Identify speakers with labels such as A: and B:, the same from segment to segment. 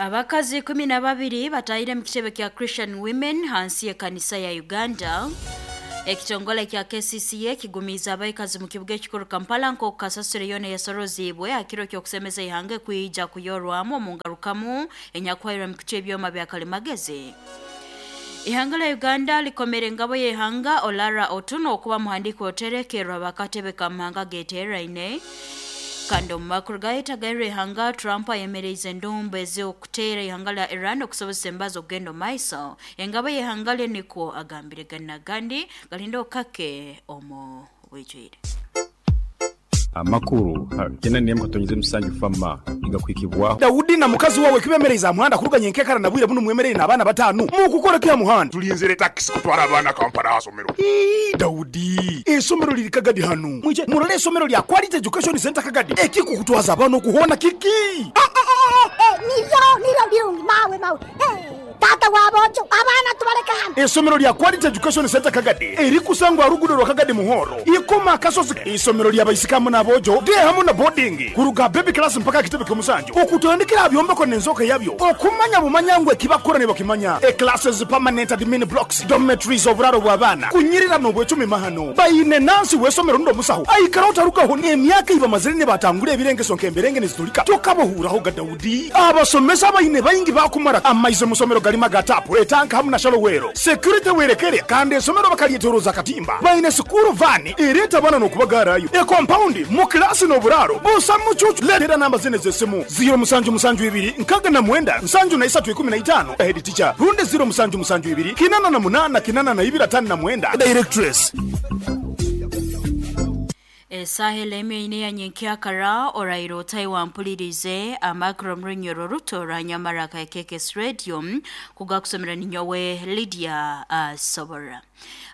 A: Abakazi 12 batahire mu kitebe kya Christian Women hansi y'ekanisa ya Uganda. Ekitongole kya KCCA kigumiize abaikazi mu kibuga ekikuru Kampala nk'oku kasasiro yoona eyasoroziibwe aha kiro ky'okusemeza ihanga ekwija kuyorwamu omu ngarukamu enyakuhairwe mu kucwa ebyoma bya kalimagezi. Ihanga lya Uganda likomere engabo y'ihanga Olara Otuno okuba muhandiiki oterekerwa bakatebe ka mahanga geteeraine. Kandi omu makuru gayetagairwe ihanga Trump ayemereize endumbu ez'okuteera ihanga lya Iran okusobozesa embazo okugenda omu maiso. Engabo y'ihanga lye nikwo agambire gani n'agandi galinde okake omu bwijwire.
B: Amakuru 8.7 FAMA nigakuhikibwaho.
C: Daudi na mukazi wawe kibemereize aha muhanda kuruga nyenkekara na bwire bunu mwemereire n'abaana batanu mukukora ki aha muhanda?
D: Tulinzire takisi kutwara abaana Kampala aha somero.
C: Ii, Daudi, eisomero liri Kagadi hanu. Mwije murole eisomero lya Quality Education Centre Kagadi. Ekikukutwaza abaana oku hoona kiki?
E: Eh, eh, eh, eh, niryo, niryo birungi, mawe, mawe. Eh. Taata w'aboojo, abaana tubaleke hanu.
C: Eisomero lya Quality Education Centre Kagadi erikusangwa aha ruguudo rwa Kagadi Muhoro, Ikoma Akasozi. Eisomero lya baisiki hamu n'aboojo, day hamu na boarding, kuruga aha baby class mpaka aha kitebe ky'omusanju, okutandikira aha byombeko n'enzooka yabyo, okumanya bumanya ngu eki bakukora nibakimanya. E Classes, permanent admin blocks, dormitories, oburaaro bw'abaana, kunyirira n'obwecumi mahano. Baine nansi w'eisomero rundi omusaho aikara otarugaho n'emyaka ei bamazire nibatangura ebirengeso nk'emberenge niziturika tokabahuuraho ga Daudi. Abasomesa abaine baingi baakumara amaizi omu somero garimu aga taapu, etanka hamu na shalowero. Security werekere kandi esomero bakaryetoroza akatimba. Baine sikuuru vaani ereeta abaana n'okubagaarayo. Ekompaundi, mu kilaasi n'oburaaro busa mucuucu. Leetera namba zinu ez'esimu, ziiro musanju musanju ibiri nkaga na mwenda nsanju na isatu ikumi na itaano, Head teacher, rundi ziiro musanju musanju ibiri kinana na munaana kinana na ibiri atano na mwenda, Directress.
A: Esaaha ela emwe ine ya nyenkyakara oraire otahi wampulirize amakuru omu runyoro ruto rwa Nyamaraka ya KKS Radio kugakusomera ninyowe Lydia Asobora.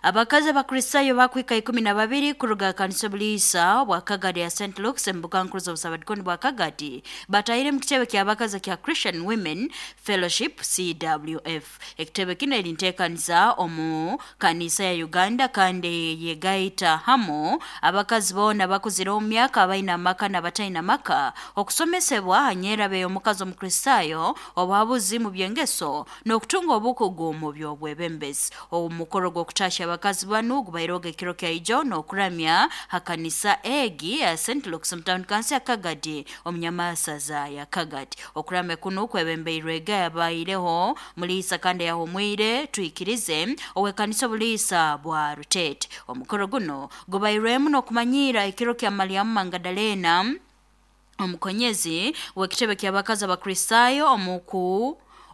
A: Abakazi Abakristayo bakwika 12 kuruga kanisa obuliisa bwa Kagadi ya St. Luke's embuga nkuru z'obusabadikoni bwa Kagadi batahire mu kitebe ky'abakazi kya Christian Women Fellowship CWF. Ekitebe kinu eri nteekaniza omu kanisa ya Uganda kandi yegaita hamu abakazi boona abakuzire omu myaka abaine amaka n'abataine amaka okusomesebwa ha nyeraba ey'omukazi Omukristayo, obuhabuzi mu by'engeso n'okutunga obukugu mu by'obwebembezi. Omukoro gw'okutahya abakazi banu gubairehoga ekiro kya ijo n'okuramya ha kanisa egi ya St. Luke's omu tawuni kansi ya Kagadi omu nyamasaza ya Kagadi. Okuramya kunu kwebembeirwega yabaireho Muliisa kandi eyahumwire Twikirize ow'ekanisa obuliisa bwa Ruteete. Omukoro guno gubairwemu n'okumanyiira ekiro kya Malyamu Mangadalena omukonyezi w'ekitebe ky'abakazi Abakristaayo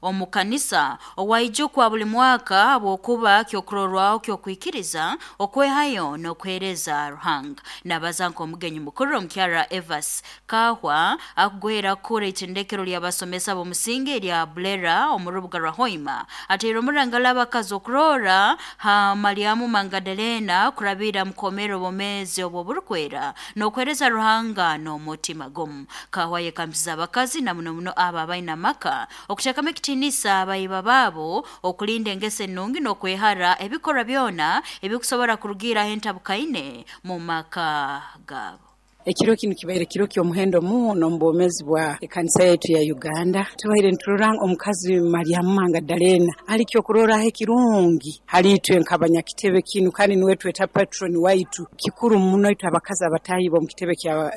A: omu kanisa owaijukwa buli mwaka habwokuba kyokurorwaho ky'okwikiriza, okwehayo n'okuheereza Ruhanga. Nabaza nk'omugenyi mukuru omukyara Evas Kahwa akugwera kukura itendekero ly'abasomesa b'omusingi erya Bulera omu rubuga rwa Hoima ateire omurangala abakazi okurora ha Malyamu Mangadalena kurabira mukomera obwomeezi obw'oburukwera n'okuheereza Ruhanga n'omutima gumu. Kahwa yekambisize abakazi na muno muno abo abaine amaka okuteekamu ekitiinisa abaiba baabo, okulinda engeso enungi n'okwehara ebikorwa byona ebikusobora kurugiiraho entabukaine mu maka gaabo.
F: Ekiro kinu kibaire kiro ky'omuhendo muno omu bwomeezi bwa ekanisa yaitu ya Uganda. Tubaire niturora omukazi Malyamu Mangadalena ali kyokurorraho ekirungi hali itwe nk'abanyakitebe kinu kandi nuwe tweta patron waitu. Kikuru muno itwe abakazi abataahi b'omu kitebe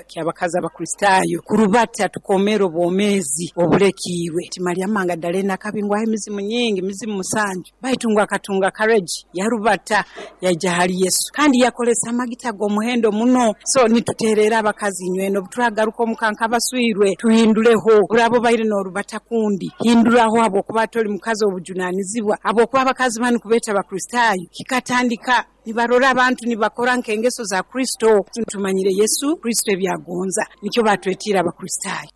F: ky'abakazi Abakristaayo kurubata tukomeera obwomeezi obulekiirwe. Nti Malyamu Mangadalena akabingwaho emizimu nyingi, mizimu musanju. Baitu ngu akatunga courage yarubata yaija hali Yesu kandi yakolesa amagita ag'omuhendo muno. So nituterera abakazi inywena obuturagaruka omuka nk'abaswirwe tuhindureho. Oraba obaire n'orubata kundi hinduraho habwokuba toli mukazi ow'obujunanizibwa. Habwokuba abakazi banu kubeeta Bakristaayo kikatandika nibarora abantu nibakora nk'engeso za Kristo. Tumanyire Yesu Kristo eby'agonza nikyo batwetiire Abakristaayo.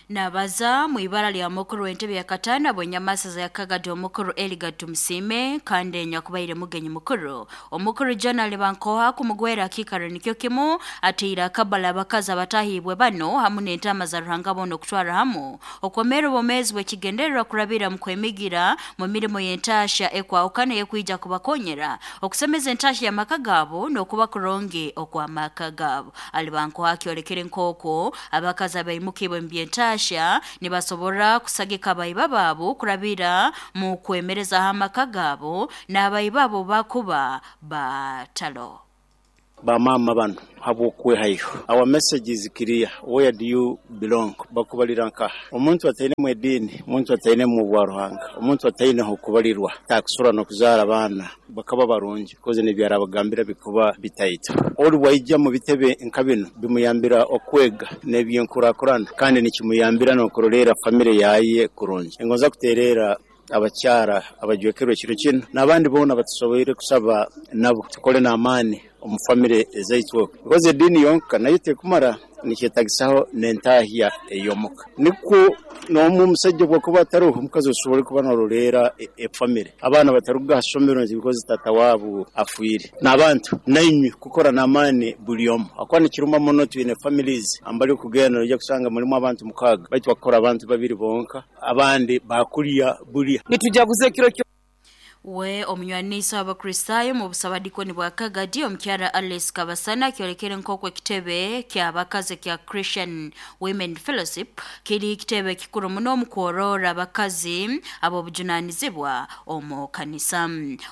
A: Nabaza mu ibara lya mukuru w'entebe ya katano abw'enyamasaza ya Kagadi omukuru Eligad Tumusiime kandi nyakubaire mugenyi mukuru. Omukuru John Alibankoha kumugwera akiikaro nikyo kimu ataire akabala abakazi abatahiibwe bano hamu n'entaama za Ruhanga boona okutwara hamu okwomera obwomeezi bw'ekigendererwa kurabira mu kwemigira mu mirimo y'entaahya ekwahukana ey'ekwija kubakonyera okusemeza entaahya y'amaka gaabo n'okuba kurungi okw'amaka gaabo. Alibankoha akyolekere nk'oku abakazi abaimukibwe mu by'entaahya okutashya nibasobora kusagika abaiba baabo kurabira mu kwemerezaho amaka gaabo n'abaiba bo bakuba batalo.
G: Bamama bano habw'okwehayo, our message is clear, where do you belong? Bakubalira nkaha? Omuntu atainemu ediini, omuntu atainemu obwaruhanga, omuntu ataineho okubalirwa takusobora n'okuzaara abaana bakaba barungi because n'ebyarabagambira bikuba bitaito. Ori bwaija mu bitebe nka binu bimuyambira okwega n'ebyenkurakurana kandi nikimuyambira n'okuroleera famire yaye kurungi. Ningonza kutereera abakyara abajwekerwa ekiro kinu n'abandi boona abatusoboire kusaba nabo tukole n'amaani omu famire ezaitu okwo because ediini yonka nayo tekumara, nikyetagisaho n'entahya ey'omuka. Nikwo n'omu omusaija obwakuba ataroho, omukazi osobole kuba n'oroleera efamire. Abaana bataruga ha somero nti because tata waabo afiire. N'abantu nainywe kukora n'amaani buli omu ahakuba nikiruma muno twine families mbali okugenda noija kusanga mulimu abantu mukaaga baitu bakukora abantu babiri bonka abandi bakulya bulya.
H: Nitujaguza ekiro kyo.
A: We omunywanisa w'Abakristaayo mu busabadikoni bwa Kagadi omukyara Alice Kabasana kyolekere nk'oku ekitebe ky'abakazi kya Christian Women Fellowship kiri kitebe kikuru muno omu kworora abakazi ab'obujunanizibwa omu kanisa.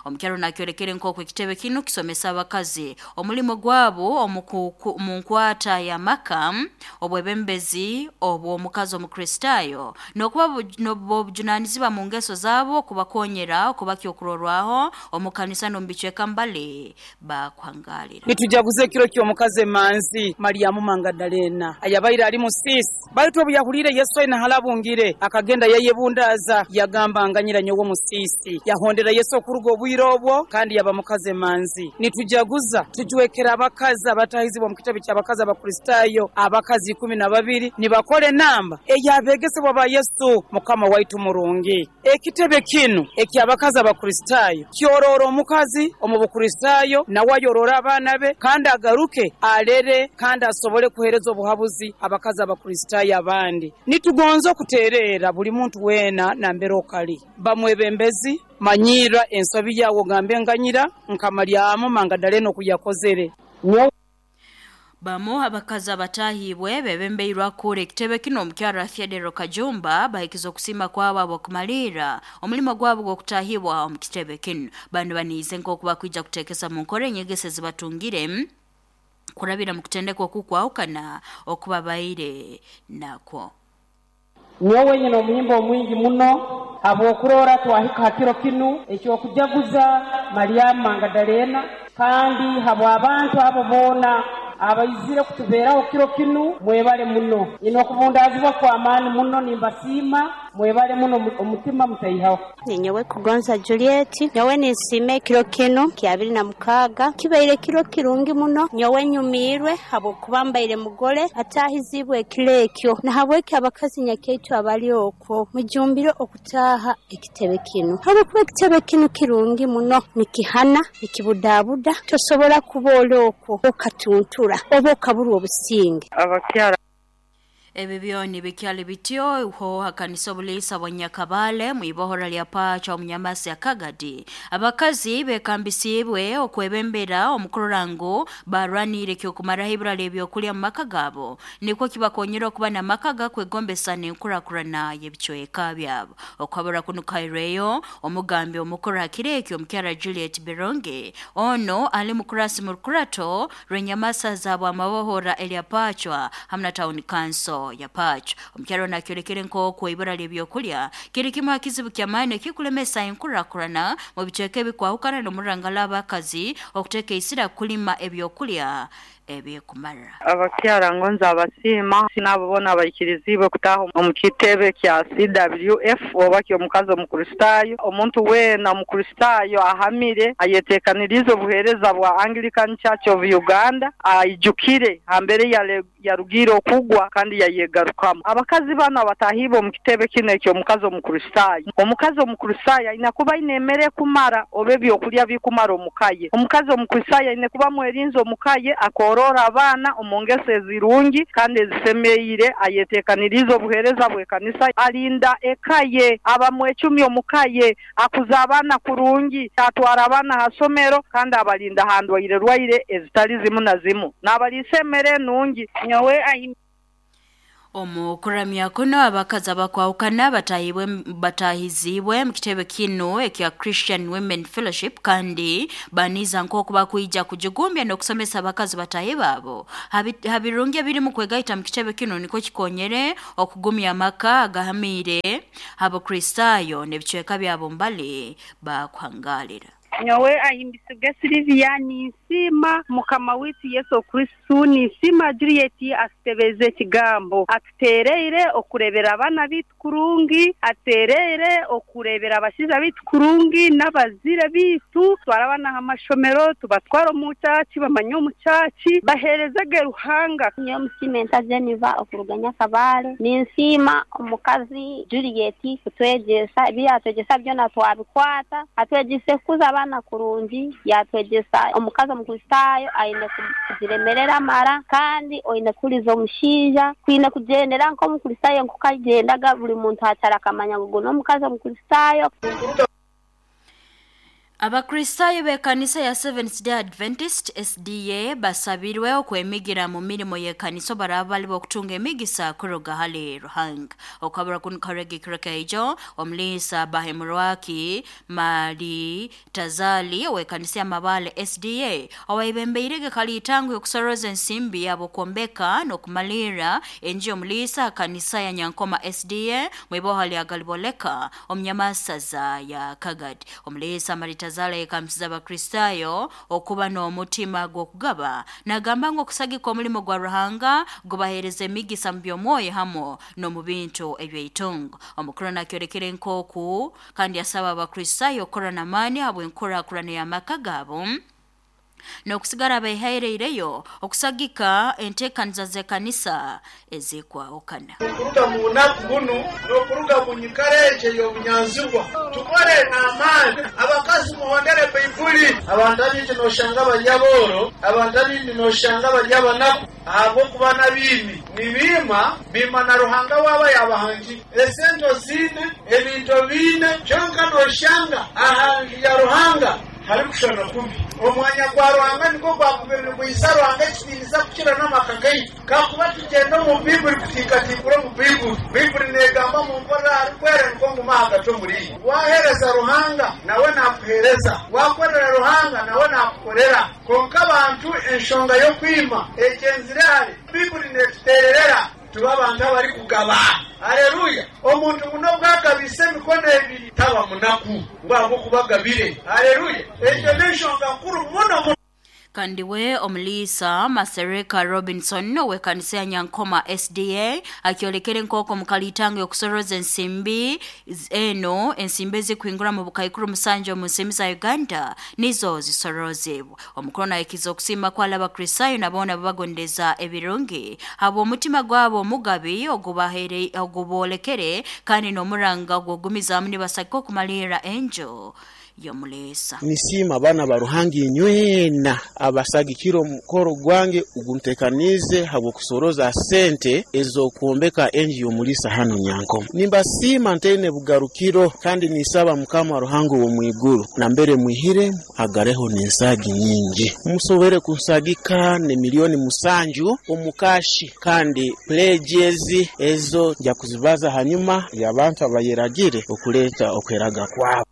A: Omukyara onu akyolekere nk'oku ekitebe kinu kisomesa abakazi omulimo gwabo omu nkwata y'amaka, obwebembezi obw'omukazi Omukristaayo n'okuba b'obujunanizibwa mu ngeso zaabo kubakonyera okuba kyokurorwaho omu kanisa n'omu bicweka mbali bakuhangalira.
H: Nitujaguza ekiro ky'omukazi emanzi Malyamu Mangadalena, ayabaire ali musiisi. Baitu obu yahuliire Yesu aine halabungire, akagenda yayebundaaza, yagamba, Nganyira nyowe omusiisi. Yahondera Yesu okuruga obwire obwo, kandi yaba mukazi emanzi. Nitujaguza tujwekera abakazi abatahizibwe omu kitebe ky'abakazi Abakristaayo, abakazi 12 nibakora enamba ey'abegesebwa ba Yesu, Mukama waitu murungi. Ekitebe kinu eky'abakazi Abakristaayo kyoroora omukazi omu Bukristaayo nawe ayorore abaana be kandi agaruke alere kandi asobole kuheereza obuhabuzi abakazi Abakristaayo abandi. Nitugonza okuteereera buli muntu weena nambere okali. Ba mwebembezi, manyiirra ensobi yaawe ogambe nganyira nka Malyamu Mangadalena oku yakozere. Nyowe.
A: Bamu abakazi abatahibwe bebembeirwe akuura ekitebe kinu omukyara Theodore Kajumba bahikize okusiima kwabo ab'okumaliira omulimo gwabo gw'okutahibwa omu kitebe kinu. Banu baniize nk'oku bakwija kuteekesa mu nkora enyegesa ezibatungire kurabira mu kutendekwa okukwahukana okubabaire nakwo.
I: Nyowe nyine omuhimbo omwingi muno habw'okurora twahika ha kiro kinu eky'okujaguza Malyamu Mangadalena, kandi habw'abantu abo boona abaizire kutubeeraho kiro kinu, mwebale muno. Nyine okubundaazibwa kw'amaani muno, nimbasiima, mwebale muno, omutima mutaihaho.
J: Ninyowe Kugonza Juliet, nyowe ninsiima ekiro kinu kyabiri na mukaaga, kibaire kiro kirungi muno, nyowe nyumiirwe habwokuba mbaire mugole ataahiziibwe ekiro ekyo. Nahabweki abakazi nyakaitu abali okwo mujumbire okutaaha ekitebe kinu habwokuba ekitebe kinu kirungi muno, nikihana, nikibudabuda, tosobora kuba oli okwo okatuntura oba okaburwa obusinge.
K: Abakyara.
A: Ebi byona bikyali bityo ho hakanisa obuliisa bwa Nyakabale mu ibohora lya Pacha omu Nyamasi ya Kagadi. Abakazi bekambisiibwe okwebembera omu kurora ngu barwaniire ekyokumaraho ibura ly'ebyokulya mu maka gaabo nikwo kibakonyera okuba n'amaka gakwegombesa n'enkurakurana y'ebicweka byabo. Okuhabura kunu kuhairweyo omugambi omukuru ha kiro ekyo omukyara Juliet Bironge. Ono ali mukurasi mu rukurato rw'enyamasa za Bwamabohora erya Pacwa hamu na Town Council ya Pacwa. Omukyara onu akyolekere nk'oku ibura ly'ebyokulya kiri kimu ha kizibu ky'amaani ekikulemesa enkurakurana mu bicweka ebikwahukana n'omurangala abakazi okuteeka isira kulima ebyokulya ebikumara.
K: Abakyara ngonza abasiima n'abo boona abaikiriziibwe kutaaha omu kitebe kya CWF oba ky'omukazi Omukristaayo. Omuntu weena Omukristaayo ahamire ayeteekaniriize obuheereza bwa Anglican Church of Uganda aijukire ha mbeera ei yarugiire okugwa kandi yayegarukamu. Abakazi banu abataahiibwe omu kitebe kinu eky'omukazi Omukristaayo. Omukazi Omukristaayo aine kuba aine emere ekumara oba ebyokulya bikumara omu ka ye. Omukazi Omukristaayo aine kuba mwerinzi omu ka ye, akooroora abaana omu ngeso ezirungi kandi ezisemeire, ayeteekaniriize obuheereza bw'ekanisa, arinda eka ye, aba mwecumi omu ka ye, akuza abaana kurungi, atwara abaana ha somero kandi abarinda ha ndwaire-rwaire ezitali zimu na zimu. Naabaliisa emere enungi.
L: Nyowe ahi.
A: Omu kuramya kuno abakazi abakwahukana batahibwe batahizibwe mu kitebe kino ekya Christian Women Fellowship kandi baniza nk'oku bakwija kujigumbya n'okusomesa abakazi batahi baabo habirungi ebiri mu kwegaita mu kitebe kino nikwo kikonyere okugumya amaka agahamiire Abakristaayo n'ebicweka byabo mbali bakuhangalira.
L: Nyowe ahimbisibwe Silivia, ninsiima Mukama waitu Yesu Kristo, ninsiima Juliet atutebeize ekigambo. Atuteereire okureebera abaana baitu kurungi, atuteereire okureebera abashaija baitu kurungi n'abazaire baitu. Tutware abaana aha mashomero, tubatware omu kyaki bamanye omu kyaki, baheereze ge Ruhanga.
M: Nyowe Musiimenta Jennifer okuruga Nyakabale, ninsiima omukazi Juliet kutwegyesa, ebi yaatwegyesa byona twabikwata. Atwegyeise kukuza abaana kurungi, yaatwegyesa omukazi Omukristaayo aine kugiremerera amara, kandi oine kuhuriza omushaija. Twine kugyendera nk'Omukristaayo nk'oku agyendaga, buri muntu akyaro akamanya ngu ogu n'omukazi Omukristaayo.
A: Abakristaayo b'ekanisa ya Seventh Day Adventist, SDA, basabirwe okwemigira mu mirimo y'ekanisa obaraba bali b'okutunga emigisa kuruga hali Ruhanga. Okukabura kunu kukarega ekiro kyaijo, Omuliisa Bahemurwaki Mali Tazali ow'ekanisa ya Mabaale SDA owayebembeirege kaliitango y'okusoroza ensimbi habw'okwombeka n'okumalirra enju y'omuliisa ha kanisa ya Nyankoma SDA mwiboha lya Galiboleka omu Nyamasaza ya Kagadi. Omuliisa Maritazali ayekambisize Abakristaayo okuba n'omutima gw'okugaba. Nagamba ngu okusagika omulimo gwa Ruhanga gubaheereza emigisa mu by'omwoyo hamu n'omu bintu eby'eitungo. Omukuru nakyolekere nk'oku kandi asaba Abakristaayo kukora n'amaani habw'enkurakurana y'amaka gaabo n'okusigara behaireireyo okusagika entekaniza z'ekanisa ezikwahukana.
N: Okuruga mu bunaku bunu n'okuruga mu nyikara egi ey'obunyanzigwa, tukore n'amaani. Abakazi muhondere Baibuli. Abantu abaingi noshanga bari abooro, abantu abaingi noshanga bari abanaku ahabw'okuba n'abaimi. Nibiima, biima na Ruhanga waabo ayaabahangire. Esente oziine, ebintu obiine, kyonka noshanga aha nju ya Ruhanga harikushushana kubi. Omwanya gwa Ruhanga nigwo gwakubire nigwihisa Ruhanga ekitiinisa kukira n'amaka gaitu. Kakuba tugyenda omu Baibuli kutiikatiikura omu Baibuli, Baibuli neegamba munkorere aharikwera nikwo ngume ahagati omuriimwe. Waaheereza Ruhanga, nawe naakuheereza. Waakorera Ruhanga, nawe naakukorera. Kwonka abantu enshonga y'okwima egyenzire hare. Baibuli neetuteererera tube abantu abarikugaba. Haleluya! Omuntu ngu n'obu agabiise emikono ebiri, taba munaku ngu ahabw'okuba agabire. Haleluya! Egyo n'enshonga nkuru muno muno.
A: Kandi we Omuliisa Masereka Robinson ow'ekanisa ya Nyankoma SDA akyolekere nk'oku omu kaliitango y'okusoroza ensimbi eno ensimbi ezikuhingura mu bukaikuru 7 omu nsimbi za Uganda nizo zisorozibwe. Omukuru nahikiza okusiima kwali Abakristaayo na boona ababagondeza ebirungi habw'omutima gwabo omugabi oguboolekere kandi n'omuranga ogw'ogumizaamu nibasagika okumalirra enju y'omuliisa.
O: Nisiima abaana ba Ruhanga inywena abasagikire omukoro gwange oguntekaniize habw'okusoroza sente ez'okwombeka enju y'omuliisa hanu Nyankoma. Nimbasiima ntaine bugarukiro kandi ninsaba Mukama Ruhanga ow'omu iguru nambere mwihire agareho n'ensaagi nyingi. Musobwere kunsagika n'emilioni musanju omu kaashi kandi pledges ezo nja kuzibaza hanyuma y'abantu abayeragire okuleeta okweraga kwabo.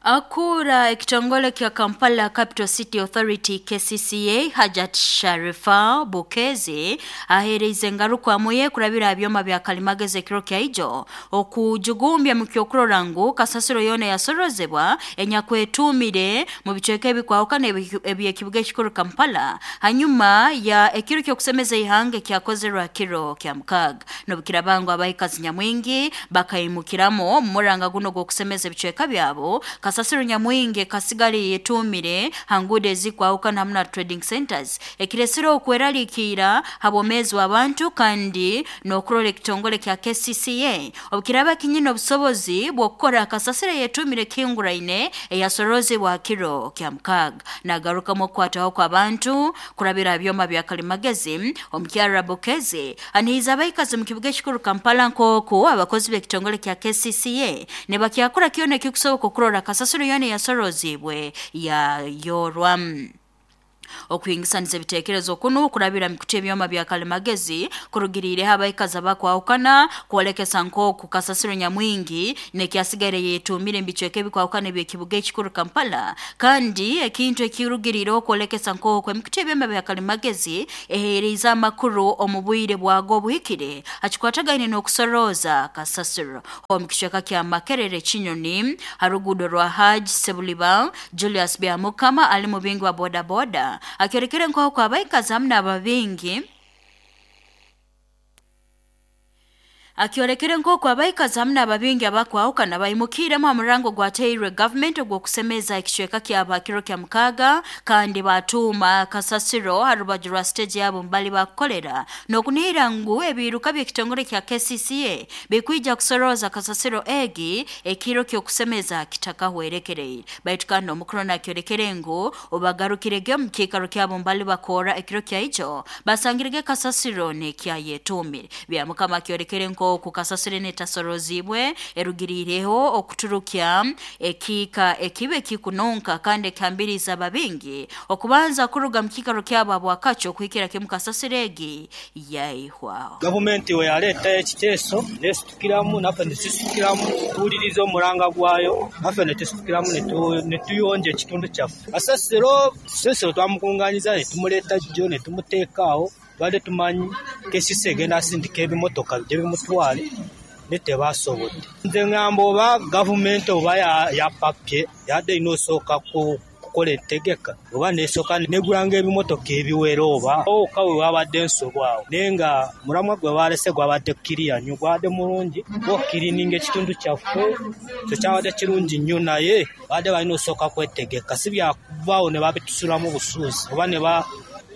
A: Akuura ekitongole kya Kampala Capital City Authority KCCA Hajat Sharifa Bukezi aheereize engarukwamu ye kurabira aha byoma bya kalimagezi ekiro kyaijo okujugumbya mu ky'okurora ngu kasasiro yoona eyasorozebwa enyakwetuumire mu bicweka ebikwahukana eby'ekibuga ekikuru Kampala hanyuma ya ekiro ky'okusemeza ihanga ekyakozerwe ha kiro kya mukaaga. N'obukiraaba ngu abaikazi nyamwingi bakaimukiramu omu muranga gunu ogw'okusemeza ebicweka byabo, kasasiro nyamwingi ekasigara eyetuumire ha nguudo ezikwahukana hamu na trading centers, ekiresire okweraliikirra ha bwomeezi bw'abantu kandi n'okurora ekitongole kya KCCA obukiraaba kinyine obusobozi bw'okukora kasasiro eyetuumire ekihinguraine eyasorozibwa ha kiro kya mukaaga. Nagarukamu okukwatwaho kw'abantu kurabira ha byoma bya kalimagezi, Omukyara Bukezi anihiize abaikazi omu kibuga ekikuru Kampala nk'oku abakozi b'ekitongole kya KCCA nibakyakora kyona ekikusoboka okurora kasasiro yoona eyasoroziibwe yayorwa. Okuhingisaniza ebiteekerezo kunu kurabira mikutu ebyoma bya kalimagezi kurugiriireho abaikazi abakwahukana kwolekesa nk'oku kasasiro nyamwingi nekyasigaire yetuumire mu bicweka ebikwahukana eby'ekibuga ekikuru Kampala. Kandi ekintu ekirugiriireho kwolekesa nk'oku emikutu ebyoma bya kalimagezi eheeriize amakuru omu bwire bwago obuhikire hakikwatagaine n'okusorooza kasasiro. Omu kicweka kya Makerere Kinyoni ha ruguudo rwa Hajj Sebuliba, Julius Byamukama ali mubingi wa bodaboda akyolekere nk'oku abaikazi hamu n'ababingi akyolekere nk'oku abaikazi hamu n'ababingi abakwahukana baimukiiremu ha murango ogwateirwe gavumenti ogw'okusemeza ekicweka kyabo ha kiro kya mukaaga, kandi baatuuma kasasiro ha rubaju rwa siteegi yabo mbali bakukolera n'okunihira ngu ebiiruka by'ekitongole kya KCCA bikwija kusorooza kasasiro egi ekiro ky'okusemeza kitakahwerekereire. Baitu kandi omukuru nakyolekere ngu obagarukirege omu kiikaro kyabo mbali bakorra ekiro kyaijo basangirege kasasiro n'ekyayetuumire. Byamukama akyolekere nk'oku kasasiro enu etasoroziibwe erugiriireho okuturukya ekiika ekibi ekikununka kandi ekihambiriize ababingi okubanza kuruga mu kiikaro kyabo habwakakyo okuhikira kimu kasasiro egi yaihwaho.
P: Gavumenti bweyaleeta ekiteeso n'esitukiramu naffe nitusisitukiramu tuwuliriza omuranga gwayo naffe netusitukiramu netuyonja ekitundu kyaffe. Kasasiro kasasiro twamukunganyiza netumuleeta gyo netumuteeka agho. Twali tumanyi KCC egenda sindika ebimotoka bije bimutwale naye tebasobodde. Nze ngamba oba gavumenti oba yapapye yadaine osooka kukola entegeka oba nesoka negulanga ebimotoka ebiwera oba woka wewabadde ensobi agho. Naye nga omulamwa gwebalese gwabadde kiriya nyo gwabadde mulungi gwokukirininga ekitundu kyaffe ekyo kyabadde kirungi nyo naye babadde balina osooka kwetegeka sibyakuvagho nebabitusulamu busuuzi oba neba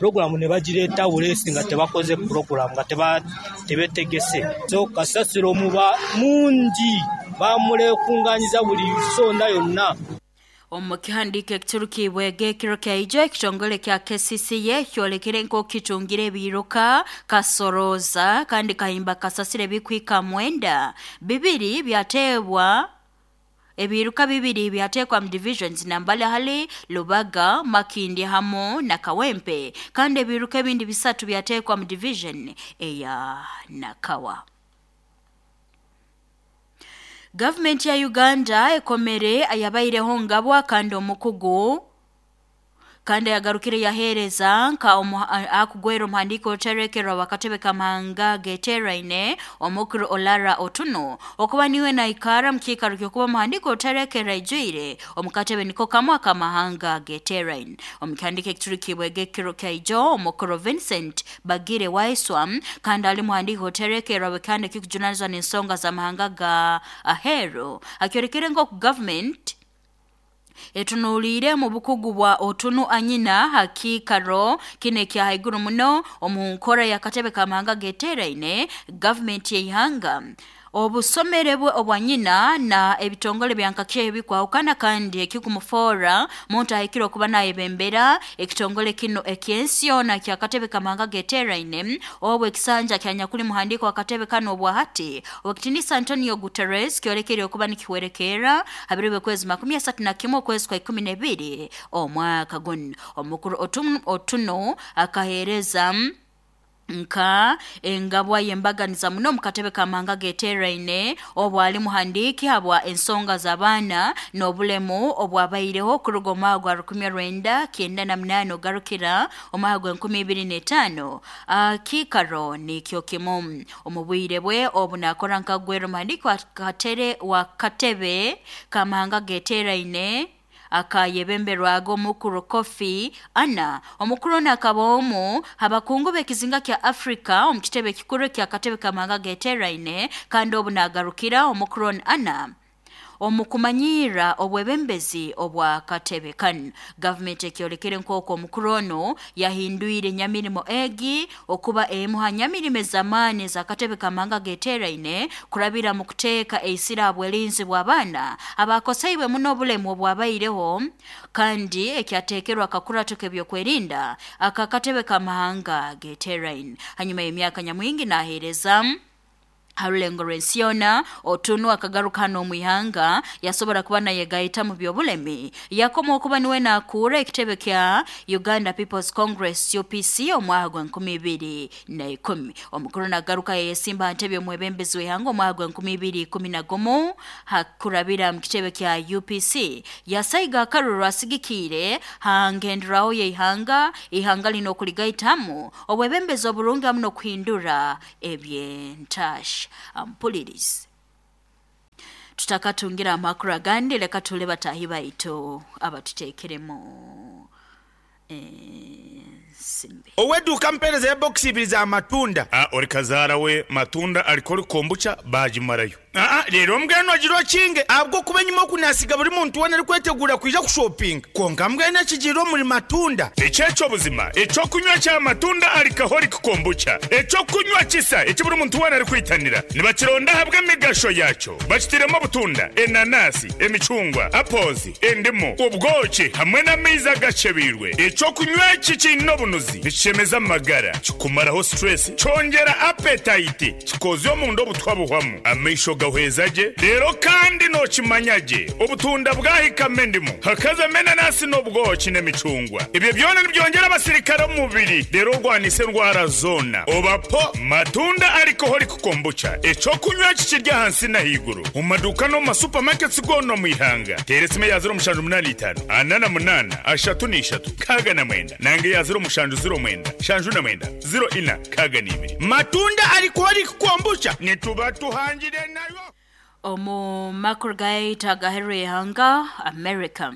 P: Pulogulaamu ni bagireeta buleesi nga tebakoze pulogulaamu, nga tebetegese. So kasasiro muba mungi, bamulekunganyiza buli nsonda yonna.
A: Omu kihandiiko ekiturukiibwege ekiro kya ijo, ekitongole kya KCCA kyolekere nk'oku kitungire ebiiruka kasorooza kandi kahimba kasasiro ebikuhika mwenda, bibiri byateebwa. Ebiiruka bibiri byateekwa mu divisions nambali hali Lubaga, Makindye hamu na Kawempe kandi ebiiruka ebindi bisatu byateekwa mu division eya Nakawa. Gavumenti ya Uganda ekomere ayabaireho ngabwa kandi omukugu kandi ayagarukire yaheereza nka akugwera omuhandiiki oruterekerro w'akatebe k'amahanga ageteeraine Omukuru Olara Otuno okuba niwe naikara mu kiikaro ky'okuba omuhandiiki oruterekerro aijwire omu katebe niko kamu ak'amahanga ageteeraine. Omu kihandiiko ekiturukiibwege ekiro kya ijo, Omukuru Vincent Bagire Waiswa kandi ali muhandiiki oruterekerro w'ekihanda ekikujunanizibwa n'ensonga z'amahanga ga aheeru akyolekere nk'oku gavumenti Etunuliire omu bukugu bwa Otunu Anyina ha kiikaro kinu ekya haiguru muno omu nkora y'akatebe k'amahanga ageteeraine, gavumenti y'ihanga, obusomere bwe obwa nyina na ebitongole bya nkakyeho ebikwahukana kandi ekikumufoora muntu ahikire okuba nayebembera ekitongole kinu eky'ensi yoona ky'akatebe k'amahanga ageteeraine obu ekisanja kya nyakuli muhandiiki w'akatebe kanu obwahati Owekitinisa Antonio Guterres kyolekere okuba nikihwerekerra ha biro by'okwezi 31 okwezi kwa 12 omwaka gunu. Omukuru Otuno akaheereza nka engabwa y'embaganiza muno omu katebe k'amahanga ageteeraine obu ali muhandiiki habwa ensonga z'abaana n'obulemu obwabaireho kuruga omwaka gwa 1998 ogarukira omwaka gw'e2005. Kiikaro nikyo kimu. Omu bwire bwe obu naakora nka Gwera omuhandiiki wa katebe k'amahanga ageteeraine akayebemberwaga Omukuru Kofi Anna. Omukuru onu akaba omu ha bakungu b'ekizinga kya Afrika omu kitebe ekikuru eky'akatebe k'amahanga ageteeraine kandi obu naagarukira Omukuru onu Anna Omu kumanyirra obwebembezi obw'akatebe kanu, gavumenti ekyolekere nk'oku omukuru onu yahindwire enyamirimo egi okuba emu ha nyamirimo ez'amaani ez'akatebe k'amahanga ageteeraine kurabira mu kuteeka eisira ha bwelinzi bw'abaana abaakoseibwe muno obulemu obwabaireho kandi ekyateekerwe akakurato k'ebyokwerinda ak'akatebe k'amahanga ageteeraine. Hanyuma y'emyaka nyamwingi naheereza. Harulengo rw'ensi Otunu akagaruka hano omu ihanga yasobora kuba nayegaita mu byobulemi yakoma okuba niwe nakuura ekitebe kya Uganda People's Congress UPC omwaka gwa 2010. Omukuru nagaruka yeyesimba ntebe omwebembezi w'ihanga omwaka gwa 2011 hakurabira mu kitebe kya UPC yasaiga akaruru asigikiire hangenderaho y'ihanga ihanga lino okuligaitamu obwebembezi oburungi hamu n'okuhindura ebyentasha. Ampulirize tutakatungira amakuru agandi, leka tule batahi baitu abatuteekeremu ensimbi.
Q: Ow'eduuka mpeereza ya bokisi ibiri za matunda.
D: A Ori kazaara we matunda arikori kombucha baagimarayo.
Q: Aa Reero mbwenu ogire okinge, ahabw'okuba enyima oku naasiga buri muntu weena arikweteguura kwija kushopinga. Kwonka mbwenu ekigiire omuri matunda.
D: Eki eky'obuzima, eky'okunywa kya matunda alcoholic kombucha, eky'okunywa kisa eki buri muntu weena arikwitanira. Nibakironda ahabw'emigasho yaakyo. Bakitairemu obutunda, enanasi, emicungwa, apples, endimu, obwoki hamwe n'amaizi agakyebeirwe. Eky'okunywa eki kiine obunuzi, nikishemeza amagara, kikumaraho stress, kyongyera appetite, Kikoozya omunda obutwa buhwamu, amaisho gahweza gye, reero kandi nookimanya gye obutunda bwahikamu endimu, hakazamu enanasi n'obwoki n'emicungwa. Ebyo byona nibyongyera abasirikare omu mubiri reero orwanise endwara zoona. Oba po Matunda Alcoholic Kombucha, eky'okunywa eki kiri ahansi n'ahaiguru omu maduuka n'omu ma supermarkets goona omu ihanga. Teera esimu eya 0785 48 33 69 nanga eya 0709 79 04 62.
Q: Matunda Alcoholic Kombucha nituba tuhangire nayo.
A: Omu makuru gaitu agaheru y'ihanga America.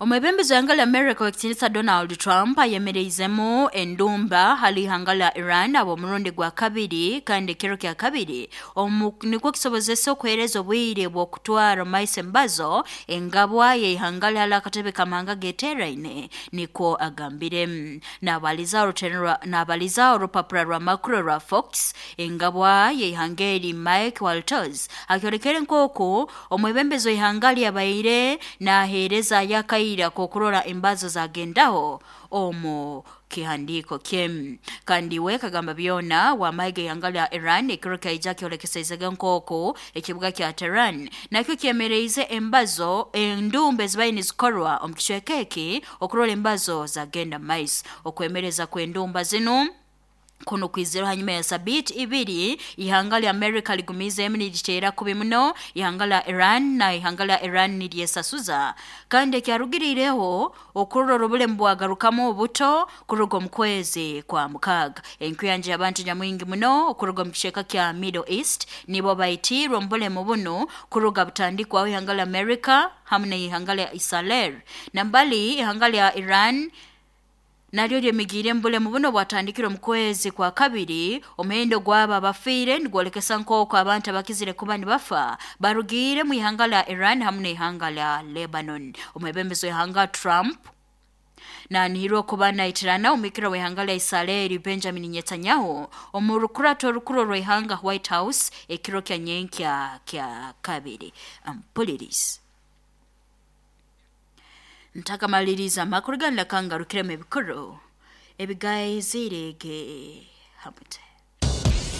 A: Omwebembezi w'ihanga lya America ow'ekitiinisa Donald Trump ayemereizemu endumba hali ihanga lya Iran ab'omurundi gwa kabiri kandi ekiro kya kabiri omu nikwo kisobozesa okuheereza obwire bw'okutwara omu maiso embazo engabwa y'ihanga lye hali akatebe k'amahanga ageteeraine nikwo agambire. Nabaliza orupapura rw'amakuru rwa Fox, engabwa y'ihanga eri Mike Walters akyolekere nk'oku omwebembezi w'ihanga lye abaire naheereza y'akaire ak'okurora embazo zagendaho omu kihandiiko kye. Kandi we kagamba byona w'amahe g'ihanga lya Iran ekiro kyaija kyolekeseizege nk'oku ekibuga kya Tehran nakyo kyemereize embazo endumba ezibaire nizikorwa omu kicweka eki okurora embazo zagenda mu maiso. Okwemereza kw'endumba zinu kunu kwizire hanyuma ya sabiiti ibiri ihanga lya America ligumizeemu niriteera kubi muno ihanga lya Iran na ihanga lya Iran niryesasuza kandi ekyarugiriireho okurora obulemu bwagarukamu obuto kuruga omu kwezi kwa mukaaga. Enkuyanja y'abantu nyamwingi muno okuruga omu kicweka kya Middle East nibo baitiirwe omu bulemu bunu kuruga butandikwaho ihanga lya America hamu n'ihanga lya Israel. Nambali ihanga lya Iran naryo lyemigiire omu bulemu buno bwatandikire omu kwezi kwa kabiri. Omuhendo gw'abo abafiire nigwolekesa nk'oku abantu abakizire kuba nibafa barugiire mu ihanga lya Iran hamu n'ihanga lya Lebanon. Omwebembezi w'ihanga Trump nanihirwa okuba naitirana omwikira w'ihanga lya Israeli Benjamin Netanyahu omu rukurato orukuru orw'ihanga White House ekiro kya nyenkya kya kabiri. Ampulirize. Ntakamaliriza amakuru ganu leka ngarukiremu ebikuru ebigaizirege hamute.